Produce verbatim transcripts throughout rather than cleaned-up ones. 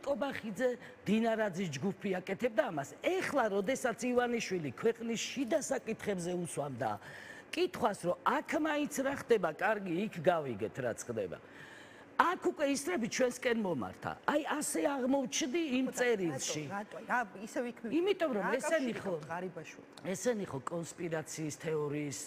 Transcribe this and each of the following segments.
კობახიძე დინარაძის ჯგუფი აკეთებდა ამას. ეხლა როდესაც ივანიშვილი ქვეყნის შიდა საკითხებზე უსვამდა კითხვას, რომ აქ მაინც რა ხდება, კარგი, იქ გავიგეთ რაც ხდება. აქ უკვე ისრები ჩვენსკენ მომართა. აი ასე აღმოჩნდი იმ წერილში. რატო? რა ისე ვიქმნი? იმიტომ რომ ესენი ხო ესენი ხო კონსპირაციის თეორიის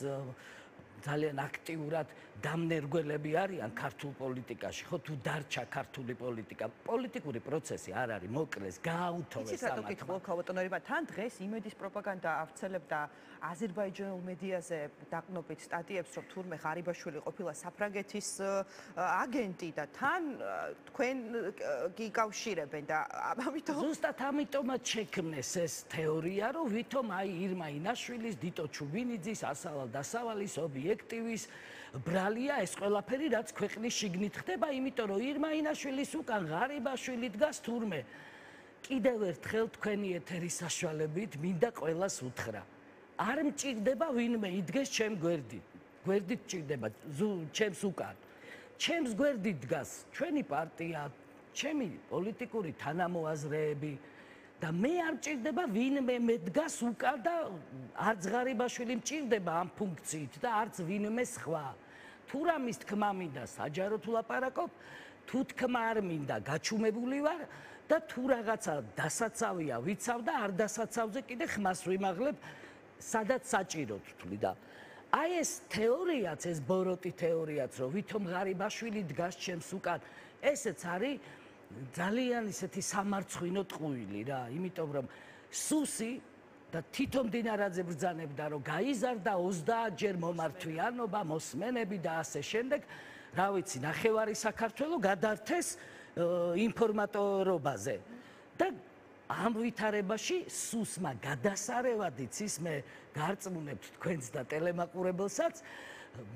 ძალიან აქტიურად დამნერგველები არიან ქართულ პოლიტიკაში, ხო თუ დარჩა ქართული პოლიტიკა, პოლიტიკური პროცესი არ არის, მოკლეს, გააუთოვეს ამათ. იცით რატო გითხო ქავატონორება, თან დღეს იმედის პროპაგანდა ავრცელებდა აზერბაიჯანულ მედიაზე დაყნობით სტატიებს, რომ თურმე ღარიბაშვილი ყოფილა საფრანგეთის აგენტი და თან თქვენ გიკავშირებენ და ამიტომ ზუსტად ამიტომაც შექმნეს ეს თეორია, რომ ვითომ აი ირმა ინაშვილის, დიტო ჩუბინიძის, ასავალ დასავალის, ობიექტივის ბრალია ეს ყველაფერი, რაც ქვეყნის შიგნით ხდება, იმიტომ რომ ირმა ინაშვილის უკან ღარიბაშვილი დგას თურმე. კიდევ ერთხელ თქვენი ეთერის საშუალებით მინდა ყველას უთხრა. არ მჭირდება ვინმე იდგეს ჩემ გვერდით. გვერდით მჭირდება ჩემს უკან. ჩემს გვერდით დგას ჩვენი პარტია, ჩემი პოლიტიკური თანამოაზრეები და მე არ მჭირდება ვინმე მედგას უკან და არც ღარიბაშვილი მჭირდება ამ ფუნქციით და არც ვინმე სხვა. თუ რამის თქმა მინდა საჯაროდ ვლაპარაკობ, თუ თქმა არ მინდა გაჩუმებული ვარ და თუ რაღაცა დასაცავია ვიცავ და არ დასაცავზე კიდე ხმას ვიმაღლებ, სადაც საჭიროდ ვთვლი და აი ეს თეორიაც, ეს ბოროტი თეორიაც, რომ ვითომ ღარიბაშვილი დგას ჩემს უკან, ესეც არის ძალიან ისეთი სამარცხვინო ტყუილი რა, იმიტომ რომ სუსი და თვითონ დინარაძე ბრძანებდა, რომ გაიზარდა ოცდაათჯერ მომართვიანობა, მოსმენები და ასე შემდეგ, რა ვიცი, ნახევარი საქართველო გადართეს ინფორმატორობაზე. და ამ ვითარებაში სუსმა გადასარევად იცის, მე გარწმუნებთ თქვენს და ტელემაყურებელსაც,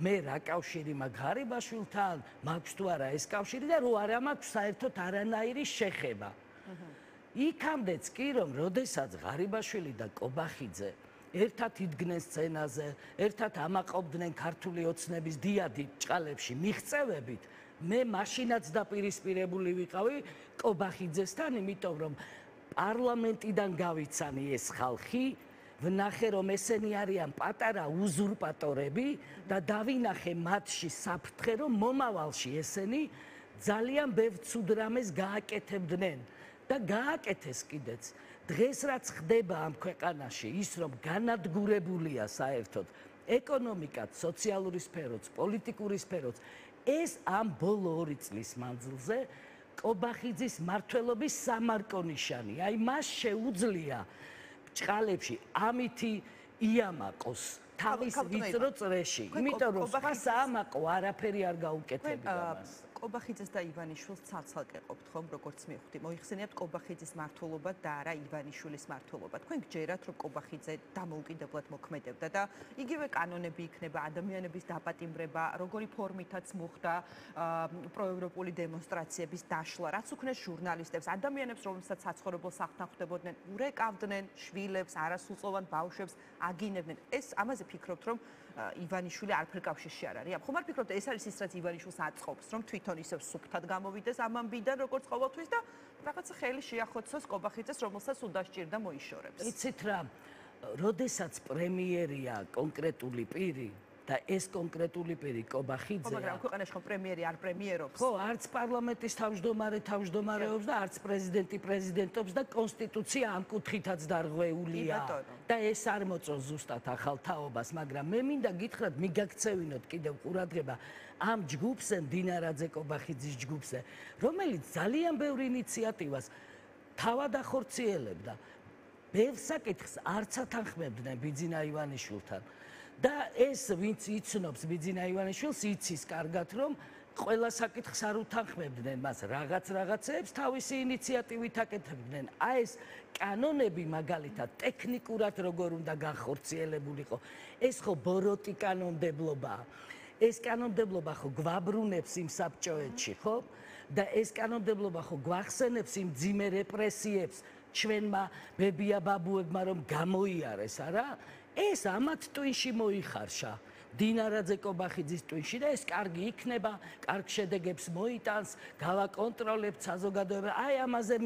მე რა კავშირი მაქვს ღარიბაშვილთან, მაქვს თუ არა ეს კავშირი და რო არა მაქვს საერთოდ არანაირი შეხება. იქამდეც კი რომ როდესაც ღარიბაშვილი და კობახიძე ერთად იდგნენ სცენაზე, ერთად ამაყობდნენ ქართული ოცნების დიადი ჭყალებში მიღწევებით, მე მაშინაც დაპირისპირებული ვიყავი კობახიძესთან, იმიტომ რომ პარლამენტიდან გავიცანი ეს ხალხი, ვნახე რომ ესენი არიან პატარა უზურპატორები და დავინახე მათში საფრთხე, რომ მომავალში ესენი ძალიან ბევრ ცუდ რამეს გააკეთებდნენ და გააკეთეს კიდეც. დღეს რაც ხდება ამ ქვეყანაში, ის რომ განადგურებულია საერთოდ ეკონომიკაც, სოციალური სფეროც, პოლიტიკური სფეროც, ეს ამ ბოლო ორი წლის მანძილზე კობახიძის მმართველობის სამარკონიშანი. აი მას შეუძლია ჭყალებში ამითი იამაყოს თავის ვიწრო წრეში, იმიტომ რომ სხვა საამაყო არაფერი არ გაუკეთებია მას. კობახიძეს და ივანიშვილს ცალ-ცალკე ყოფთ ხომ, როგორც მივხვდი. მოიხსენიებთ კობახიძის მმართველობა და არა ივანიშვილის მმართველობა. თქვენ გჯერათ, რომ კობახიძე დამოუკიდებლად მოქმედებდა და იგივე კანონები იქნება, ადამიანების დაპატიმრება, როგორი ფორმითაც მოხდა პროევროპული დემონსტრაციების დაშლა, რაც უქნეს ჟურნალისტებს, ადამიანებს, რომელსაც საცხოვრებელ სახლთან ხვდებოდნენ, ურეკავდნენ შვილებს, არასრულწლოვან ბავშვებს, აგინებდნენ. ეს ამაზე ფიქრობთ, რომ ივანიშვილი არაფერ კავშირში არ არის. ხომ არ ფიქრობთ, ეს არის ის, რაც ივანიშვილს აწყობს, რომ თვითონ ისევ სუფთად გამოვიდეს ამ ამბიდან, როგორც ყოველთვის და რაღაცა ხელი შეახოცოს კობახიძეს, რომელსაც უდასჭირდა მოიშორებს. იცით რა, როდესაც პრემიერია კონკრეტული პირი და ეს კონკრეტული პირი კობახიძეა. ხო, მაგრამ ქვეყანაში ხომ პრემიერი არ პრემიერობს? ხო, არც პარლამენტის თავმჯდომარე თავმჯდომარეობს და არც პრეზიდენტი პრეზიდენტობს და კონსტიტუცია ამ კუთხითაც დარღვეულია. და ეს არ მოწონს ზუსტად ახალ თაობას, მაგრამ მე მინდა გითხრათ, მიგაქცევინოთ კიდევ ყურადღება ამ ჯგუფზე, დინარაძე კობახიძის ჯგუფზე, რომელიც ძალიან ბევრ ინიციატივას თავად ახორციელებდა. ბევრ საკითხს არც ათანხმებდნენ ბიძინა ივანიშვილთან. და ეს ვინც იცნობს ბიძინა ივანიშვილს, იცის კარგად, რომ ყველა საკითხს არ უთანხმებდნენ მას, რაღაც რაღაცეებს თავისი ინიციატივით აკეთებდნენ. აი ეს კანონები მაგალითად ტექნიკურად როგორ უნდა განხორციელებულიყო, ეს ხო ბოროტი კანონმდებლობაა. ეს კანონმდებლობა ხო გვაბრუნებს იმ საბჭოეთში, ხო? და ეს კანონმდებლობა ხო გვახსენებს იმ ძიმე რეპრესიებს ჩვენმა ბებია ბაბუებმა რომ გამოიარეს, არა? ეს ამათ ტვინში მოიხარშა. დინარაძე კობახიძის ტვინში და ეს კარგი იქნება, კარგ შედეგებს მოიტანს, გავაკონტროლებთ საზოგადოება. აი ამაზე